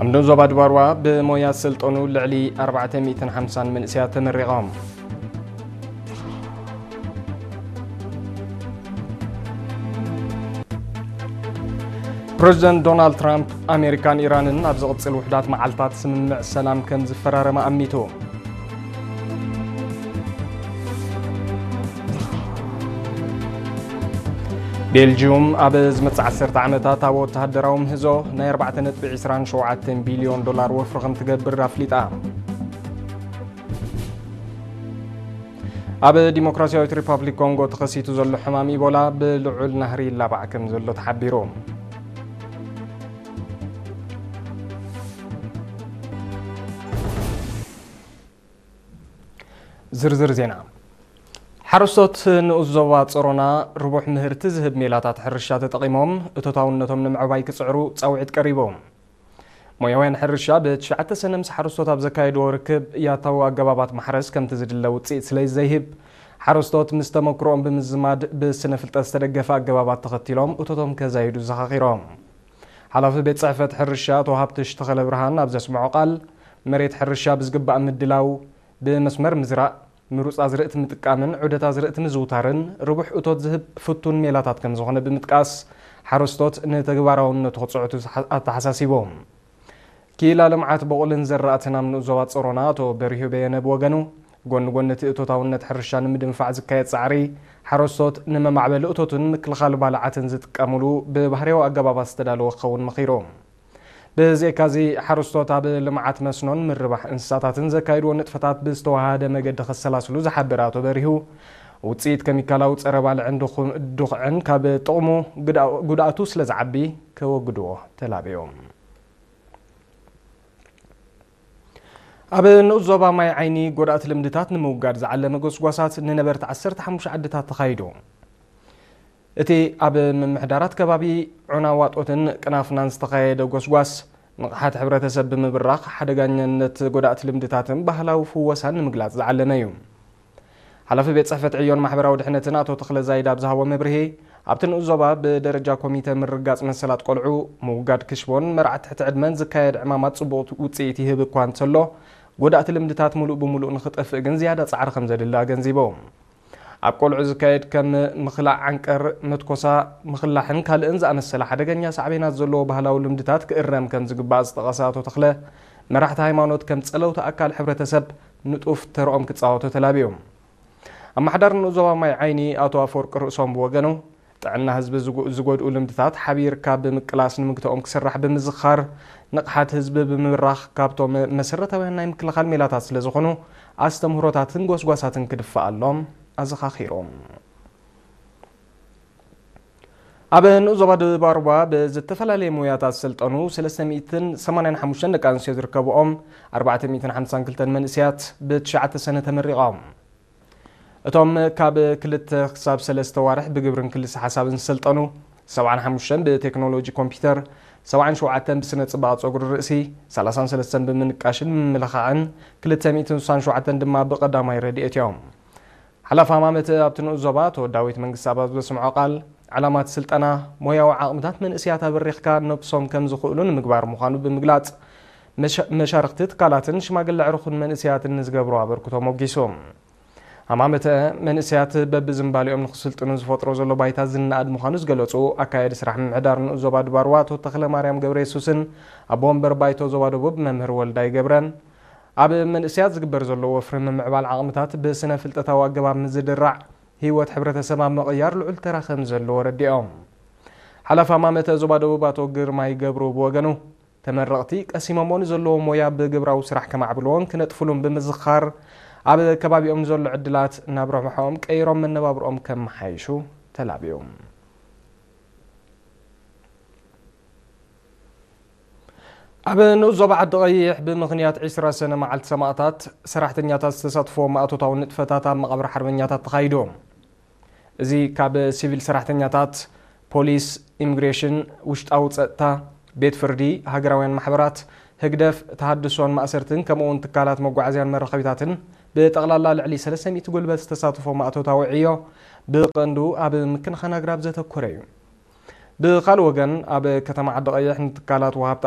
ኣብ ንኡስ ዞባ ድባርዋ ብሞያ ዝሰልጠኑ ልዕሊ ኣርባዕተ ሚእትን ሓምሳን መንእሰያት ተመሪቖም። ፕረዚደንት ዶናልድ ትራምፕ ኣሜሪካን ኢራንን ኣብ ዝቕጽል ውሑዳት መዓልታት ስምምዕ ሰላም ከም ዝፈራረማ ኣሚቱ። ቤልጂዩም ኣብ ዝመጽእ ዓሰርተ ዓመታት ኣብ ወተሃደራዊ ምህዞ ናይ ኣርባዕተ ነጥቢ ዕስራን ሸውዓተን ቢልዮን ዶላር ወፍሪ ከም ትገብር ኣፍሊጣ። ኣብ ዲሞክራሲያዊት ሪፓብሊክ ኮንጎ ተኸሲቱ ዘሎ ሕማም ኢቦላ ብልዑል ናህሪ ይላባዕ ከም ዘሎ ተሓቢሩ። ዝርዝር ዜና። ሓረስቶት ንኡስ ዞባ ጸሮና ርቡሕ ምህርቲ ዝህብ ሜላታት ሕርሻ ተጠቒሞም እቶታውነቶም ንምዕባይ ክጽዕሩ ጻውዒት ቀሪቡ። ሞያውያን ሕርሻ ብትሽዓተ ሰነ ምስ ሓረስቶት ኣብ ዘካየድዎ ርክብ ያታዊ ኣገባባት ማሕረስ ከምቲ ዝድለ ውጽኢት ስለ ዘይህብ፣ ሓረስቶት ምስ ተመክሮኦም ብምዝማድ ብስነ ፍልጠት ዝተደገፈ ኣገባባት ተኸቲሎም እቶቶም ከዛይዱ ዘኻኺሮም። ሓላፊ ቤት ጽሕፈት ሕርሻ ኣቶ ሃብትሽ ተኸለ ብርሃን ኣብ ዘስምዖ ቃል፣ መሬት ሕርሻ ብዝግባእ ምድላው፣ ብመስመር ምዝራእ፣ ምሩጽ ኣዝርእቲ ምጥቃምን ዑደት ኣዝርእቲ ምዝውታርን ርቡሕ እቶት ዝህብ ፍቱን ሜላታት ከም ዝኾነ ብምጥቃስ፣ ሓረስቶት ንተግባራውነቱ ክጽዕቱ ኣተሓሳሲቦም። ክኢላ ልምዓት በቑልን ዘራእትን ኣብ ንኡስ ዞባ ጸሮና ኣቶ በሪሁ በየነ ብወገኑ፣ ጎኒ ጎኒ እቲ እቶታውነት ሕርሻ ንምድንፋዕ ዝካየድ ጻዕሪ፣ ሓረስቶት ንመማዕበሊ እቶትን ምክልኻል ባልዓትን ዝጥቀምሉ ብባህርያዊ ኣገባባት ዝተዳለወ ክኸውን መኺሩ። ብዘይካዚ፣ ሓረስቶት ኣብ ልምዓት መስኖን ምርባሕ እንስሳታትን ዘካይድዎ ንጥፈታት ብዝተወሃደ መገዲ ከሰላስሉ ዝሓበረ ኣቶ በሪሁ፣ ውጽኢት ከሚካላዊ ጸረ ባልዕን ድኹ-፣ ድኹዕን ካብ ጥቕሙ ግዳ-፣ ጉድኣቱ ስለ ዝዓቢ ከወግድዎ ተላብዮም። ኣብ ንኡስ ዞባ ማይ ዓይኒ ጎዳእቲ ልምድታት ንምውጋድ ዝዓለመ ጎስጓሳት ንነበርቲ ዓሰርተ ሓሙሽተ ዓድታት ተኻይዱ። እቲ ኣብ ምምሕዳራት ከባቢ ዑና ዋጦትን ቅናፍናን ዝተኻየደ ጎስጓስ፣ ንቕሓት ሕብረተሰብ ብምብራኽ ሓደጋኛነት ጎዳእቲ ልምድታትን ባህላዊ ፍወሳን ንምግላጽ ዝዓለመ እዩ። ሓላፊ ቤት ጽሕፈት ዕዮን ማሕበራዊ ድሕነትን ኣቶ ተኽለ ዛይድ ኣብ ዝሃቦ መብርሂ፣ ኣብቲ ንኡስ ዞባ ብደረጃ ኮሚተ ምርጋጽ መሰላት ቆልዑ፣ ምውጋድ ክሽቦን መርዓ ትሕቲ ዕድመን ዝካየድ ዕማማት ጽቡቕ ውጽኢት ይህብ እኳ እንተሎ፣ ጎዳእቲ ልምድታት ምሉእ ብምሉእ ንኽጠፍእ ግን ዝያዳ ጻዕሪ ከም ዘድሊ ኣገንዚቦም። ኣብ ቆልዑ ዝካየድ ከም ምኽላዕ ዓንቀር፣ መትኮሳ፣ ምኽላሕን ካልእን ዝኣመሰለ ሓደገኛ ሳዕቤናት ዘለዎ ባህላዊ ልምድታት ክእረም ከም ዝግባእ ዝጠቐሰ ኣቶ ተኽለ፣ መራሕቲ ሃይማኖት ከም ጸለውቲ ኣካል ሕብረተሰብ ንጡፍ ተርኦም ክጻወቱ ተላብዮም። ኣመሓዳሪ ንኡስ ዞባ ማይ ዓይኒ ኣቶ ኣፈወርቂ ርእሶም ብወገኑ፣ ጥዕና ህዝቢ ዝጎ-፣ ዝጎድኡ ልምድታት ሓቢርካ ብምቅላስ ንምግታኦም ክስራሕ ብምዝኻር፣ ንቕሓት ህዝቢ ብምብራኽ ካብቶም መሰረታውያን ናይ ምክልኻል ሜላታት ስለ ዝኾኑ፣ ኣስተምህሮታትን ጎስጓሳትን ክድፋኣሎም ኣዘኻኺሮም። ኣብ ንኡስ ዞባ ደቡብ ኣርባ ብዝተፈላለየ ሞያታት ዝሰልጠኑ ሰለስተ ሚእትን ሰማንያን ሓሙሽተን ደቂ ኣንስትዮ ዝርከብኦም ኣርባዕተ ሚእትን ሓምሳን ክልተን መንእሰያት ብትሽዓተ ሰነ ተመሪቖም። እቶም ካብ ክልተ ክሳብ ሰለስተ ዋርሕ ብግብርን ክልሰ ሓሳብን ዝሰልጠኑ፣ ሰብዓን ሓሙሽተን ብቴክኖሎጂ ኮምፒውተር፣ ሰብዓን ሸውዓተን ብስነ ጽባቐ ጸጉሪ ርእሲ፣ ሰላሳን ሰለስተን ብምንቃሽን ምምልኻዕን፣ ክልተ ሚእትን ስሳን ሸውዓተን ድማ ብቐዳማይ ረድኤት እዮም። ሓላፊ ሃማመተ ኣብቲ ንኡስ ዞባ ኣቶ ዳዊት መንግስተኣብ ኣብ ዘስምዖ ቃል፣ ዕላማ እቲ ስልጠና ሞያዊ ዓቕምታት መንእሰያት ኣበሪኽካ ነብሶም ከም ዝኽእሉ ንምግባር ምዃኑ ብምግላጽ፣ መሻ-፣ መሻርኽቲ ትካላትን ሽማግለ ኣዕሩኽን መንእሰያትን ንዝገብሮ ኣበርክቶ ሞጊሱ። ሃማመተ፣ መንእሰያት በብዝንባሌኦም ንኽስልጥኑ ዝፈጥሮ ዘሎ ባይታ ዝነኣድ ምዃኑ ዝገለጹ ኣካያዲ ስራሕ ምምሕዳር ንኡስ ዞባ ድባርዋ ኣቶ ተኽለ ማርያም ገብረ የሱስን ኣቦ ወንበር ባይቶ ዞባ ደቡብ መምህር ወልዳይ ገብረን፣ ኣብ መንእሰያት ዝግበር ዘሎ ወፍሪ ምምዕባል ዓቕምታት ብስነ ፍልጠታዊ ኣገባብ ምዝድራዕ ህይወት ሕብረተሰብ ኣብ ምቕያር ልዑል ተራ ከም ዘለዎ ረዲኦም። ሓላፊ ሃማመተ ዞባ ደቡብ ኣቶ ግርማይ ገብሩ ብወገኑ፣ ተመረቕቲ ቀሲሞሞ ንዘለዎ ሞያ ብግብራዊ ስራሕ ከማዕብልዎን ክነጥፍሉን ብምዝኻር፣ ኣብ ከባቢኦም ንዘሎ ዕድላት ናብ ረብሓኦም ቀይሮም መነባብርኦም ከመሓይሹ ተላብዮም። ኣብ ንኡስ ዞባ ዓዲ ቀይሕ ብምኽንያት ዕስራ ሰነ መዓልቲ ሰማእታት ሰራሕተኛታት ዝተሳትፎ ማእቶታዊ ንጥፈታት ኣብ መቓብር ሓርበኛታት ተኻይዱ። እዚ ካብ ሲቪል ሰራሕተኛታት፣ ፖሊስ፣ ኢሚግሬሽን፣ ውሽጣዊ ጸጥታ፣ ቤት ፍርዲ፣ ሃገራውያን ማሕበራት፣ ህግደፍ፣ ተሃድሶን ማእሰርትን ከምኡ እውን ትካላት መጓዓዝያን መራኸቢታትን ብጠቕላላ ልዕሊ ሰለስተ ሚእቲ ጉልበት ዝተሳተፎ ማእቶታዊ ዕዮ ብቐንዱ ኣብ ምክንኻን ኣግራብ ዘተኮረ እዩ። ብኻልእ ወገን፣ ኣብ ከተማ ዓዲ ቀይሕ ንትካላት ወሃብቲ